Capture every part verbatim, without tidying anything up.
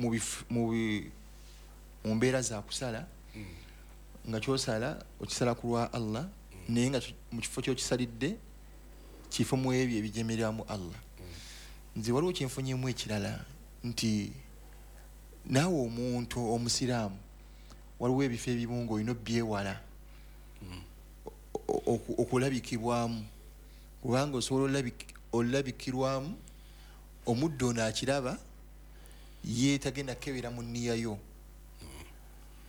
mu bif- mu bi- mu mbeera za kusala, nga kyosala okisala ku lwa Allah, naye nga ki- mu kifo kyokisalidde kifo mu ebyo ebijemereramu Allah. Nze waliwo kyenfunyemu ekirala nti naawe omuntu omusiraamu waliwo ebifo ebimu ng'olina obyewala o- oku- okulabikibwamu, kubanga osobola olabik- olabikirwamu omuddo ono akiraba ye tagenda kukebera mu nniya yo,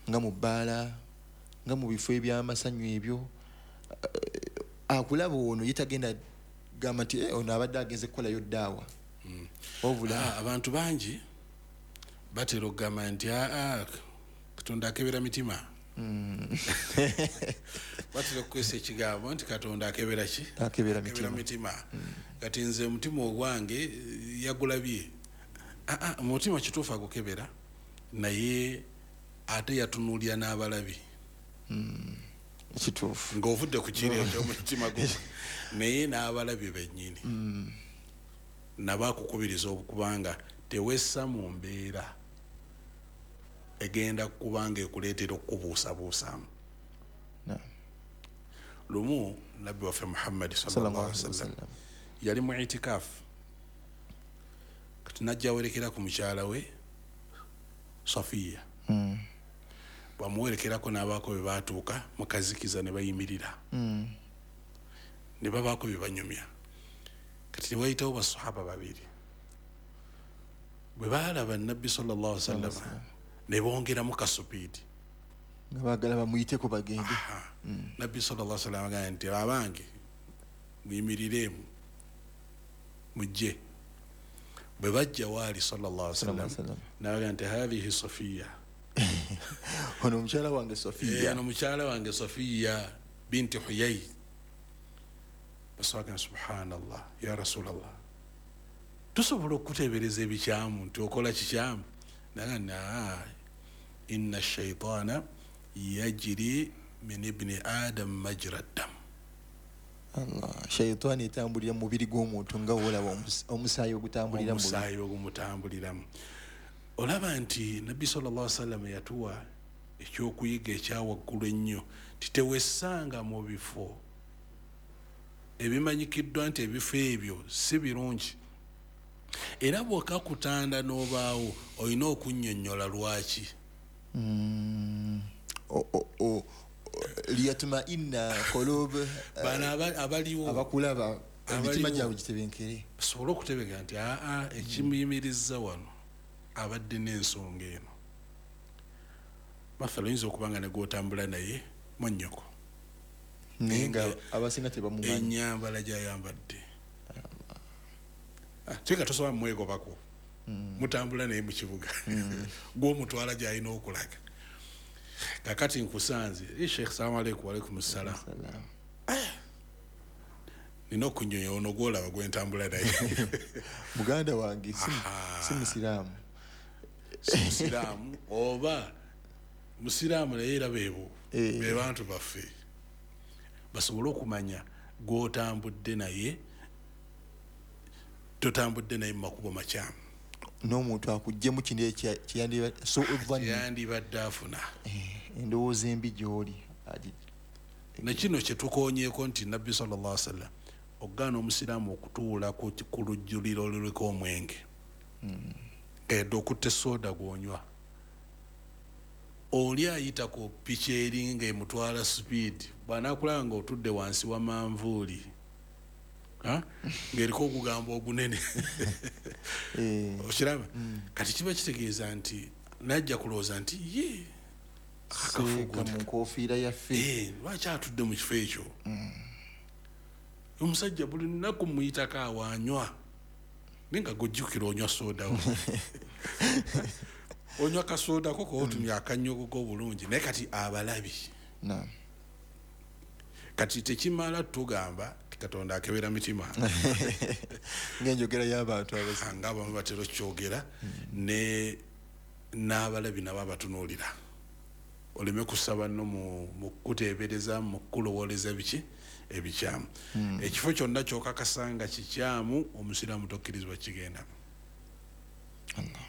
nga mu bbaala, nga mu bifo ebyamasanyu ebyo. Eh, akulaba ono ye tagenda gamba nti "Eh, ono abadde agenze kukolayo ddaawa," wabula Ah, abantu bangi batera okugamba nti aa, Katonda akebera mitima. Batera okukozesa ekigambo nti Katonda akebera ki? Akebera Akebera mitima. Mitima. Kati nze omutima ogwange eh, yagulabye. Ah, ah, omutima kituufu agukebera, naye ate yatunuulira n'abalabi. Kituufu. Ng'ovudde ku kiri ekyomutima gwo, naye n'abalabi bennyini nabo akukubiriza okubanga tewessa mu mbeera egenda kubanga ekuleetera okukubuusabuusaamu. Naam. Lumu Nabbi waffe Muhammadi Sallallahu sallallahu alaihi alaihi wasallam wasallam yali mu itikaafu. Kati najja awerekera ku mukyala we Safiya. Mm. Bwamuwerekerako n'abaako bwe baatuuka mu kazikiza ne bayimirira Mm. ne babaako bye banyumya. Kati ne wayitawo basahaba babiri, bwe baalaba Nabbi sallallahu alaihi wasallam ne bongeramu kasupiidi. Nga baagala bamuyiteko bagende. Aha. Nabbi sallallahu alaihi wasallam agamba nti, "Abange, muyimiriremu mujje." Bwe bajja waali sallallahu alaihi wasallam, Sallallahu alaihi wasallam. n'agamba nti, "Hadhihi Safiya." Ono omukyala wange Sofiya. Ono mukyala wange Safiya binti Huyai. Baswaga, "Subhanallah, ya Rasulallah, tusobola okuteebereza ebikyamu nti okola kikyamu?" Naga na, "Inna shaitaana yajiri min ibni Adam majra ddam." Allah, shaitaani etambulira mu mubiri gw'omuntu nga wolaba omus- omusaayi ogutambulira mu mubiri. Omusaayi ogumutambuliramu. Olaba nti Nabbi sallallahu sallam yatuwa ekyokuyiga ekyawaggulu ennyo ti tewessanga mu bifo ebimanyikiddwa nti ebifo ebyo si birungi, era bw'okakutanda n'obaawo olina okunnyonnyola lwaki. Mm. O- o- o- liyatmainna qulub bano aba- abaliwo abakulaba emitima Abaliwo. gyabwe gitebenkere. Basobole okutebeka nti aa, ekimuyimiriza wano abadde n'ensonga eno. Mathala oyinza okuba nga ne gwotambula naye mwannyoko, naye nga abasinga tebamumanyi. Ennyambala gyayambadde, Ah, kyeka tosobola mumwegobako, mutambula naye mu kibuga, gwomutwala gyalina okulaga. Kakati nkusanze, "Eh, Sheikh, salamu aleikum." "Walaikum salam." Salam. Nina okunyonya ono gwolaba gwentambula naye. Muganda wange si- Aha. si musiraamu. Si musiraamu oba musiraamu, naye era beebo Eh. be bantu baffe. Basobole okumanya gwotambudde naye totambudde naye mu makubo makyamu. N'omuntu akuggyemu kino ekya- kyeyandiba so dhanni, yandibadde afuna endowooza embi gy'oli agi- Nekino kyetukonyeeko nti Nabbi sallallahu alaihi wasallam okugaana omusiraamu okutuula ku ku lujjuliro oluliko omwenge, edde okutta esooda gwonywa, oli ayita ku piki eri ng'emutwala sipiidi, bw'anaakulaba nga otudde wansi wa manvuuli, ha? Ng'eriko ogugambo ogunene. Eh, okiraba, kati kiba kitegeeza nti najja kulowooza nti ye seeka mu nkofiira yaffe. Eh, lwaki atudde mu kifo ekyo? Omusajja buli lunaku muyitako awaanywa, naye nga gojjukira onywa sooda wo, onywa kasooda ko kootumya akanyogogo obulungi, naye kati abalabi. Naam. Kati tekimala tugamba ti Katonda akebera mitima. Ng'enjogera y'abantu abasi nga abamu batera okyogera, ne n'abalabi nabo abatunuulira, oleme kusaba nno mu mu kukuteebereza, mu kukulowooleza biki ebikyamu. Ekifo kyonna kyokakasa nga kikyamu, omusiraamu tokkirizibwa kigendamu. Allah.